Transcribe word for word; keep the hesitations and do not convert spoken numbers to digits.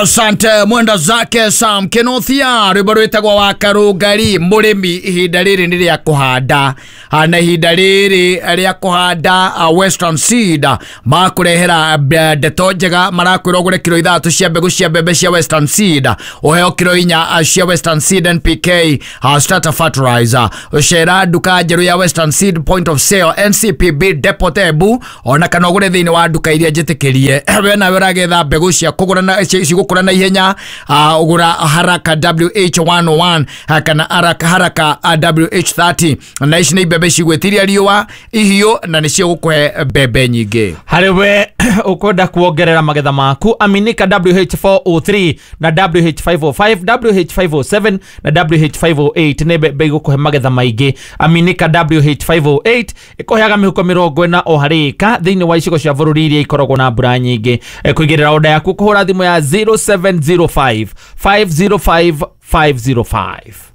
Asante mwenda zake Sam Kenothia, rwimbo rwitagwo wa Karungari. Mũrĩmi, ihinda rĩrĩ nĩ rĩa kũhanda. Ah, na ihinda rĩrĩ rĩa kũhanda, ah, Western Seed makũrehera eh, ndeto njega. Marakwĩra ũgũre kiro ithathatũ cia mbegũ cia mbembe cia Western Seed, ũheo kiro inya ah, cia Western Seed N P K ah, starter fertilizer. Ũcera nduka njerũ ya Western Seed point of sale N C P B Depot Embu, ona kana ũgũre thĩinĩ wa nduka iria njĩtĩkĩrie. We nawe ũragetha mbegũ cia kũgũra na ci- cigũkũra na ihenya, ah, ũgũra Haraka W H one oh one ah, kana Haraka Haraka ah, W H thirty, na ici nĩ mbembe cigwĩtiria riũa ihiũ na nĩcio gũkũhe mbembe nyingĩ. Harĩ we ũkwenda kuongerera magetha maku, aminika W H four oh three na W H five oh five, W H five oh seven na W H five oh eight nĩ mbembe igũkũhe magetha maingĩ. Aminika W H five oh eight ĩkũheaga mĩhuko mĩrongo ĩna o harĩ ĩka thĩinĩ wa icigo cia bũrũri iria ikoragwo na mbura nyingĩ. Eh, kũigĩrĩra oda yaku kũhũra thimũ ya zero seven zero five five zero five five zero five.